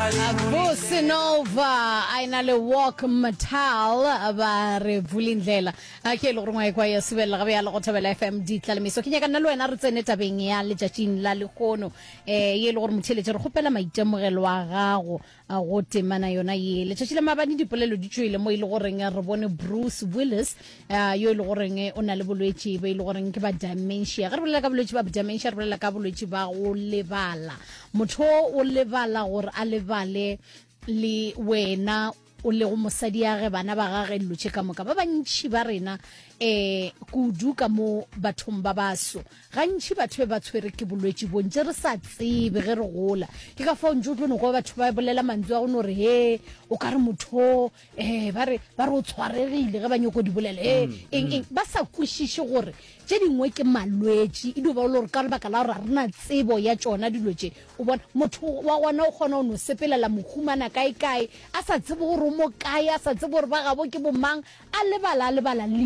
Bosenova a ena le Walk Metal ba re vulindlela a ke e le gore ngwa ekwa ya subelela gabe ya le go thobela FM ditlalemeso ke nyaka nna le wena re tsene tabeng ya letšatšing la lehono um ye e le gore motheeletše re kgopela maitemogelo a gago A go temana yona ye. Letšatši la maabane dipolelo di tšwele mo e le goreng re bone Bruce Willis uh, yo e le goreng o na le bolwetši bo e le goreng ke ba dementia. Ge re bolela ka bolwetši ba dementia re bolela ka bolwetši ba go lebala. Motho o lebala gore a lebale le wena o lego mosadi ya ge bana ba gage dilo tše ka moka. Ba bantši ba rena um kudu ka mo bathong ba baso Gantši batho be ba tshwere ke bolwetši bo ntše re sa tsebe ge re gola. Ke ka fao ntše o tlo no kwa batho ba bolela mantšu a go no re he o ka re motho um ba re ba re o tshwaregile ge ba nyoko di bolela he eng eng ba sa kwešiše gore tše dingwe ke malwetši e dio ba le gore ka lebaka la gore ga re na tsebo ya tšona dilo tše o bona motho wa gona o kgona go no sepelela mohumana kae kae a sa tsebe gore o mo kae a sa tsebe gore ba gabo ke bomang a lebala a lebala le.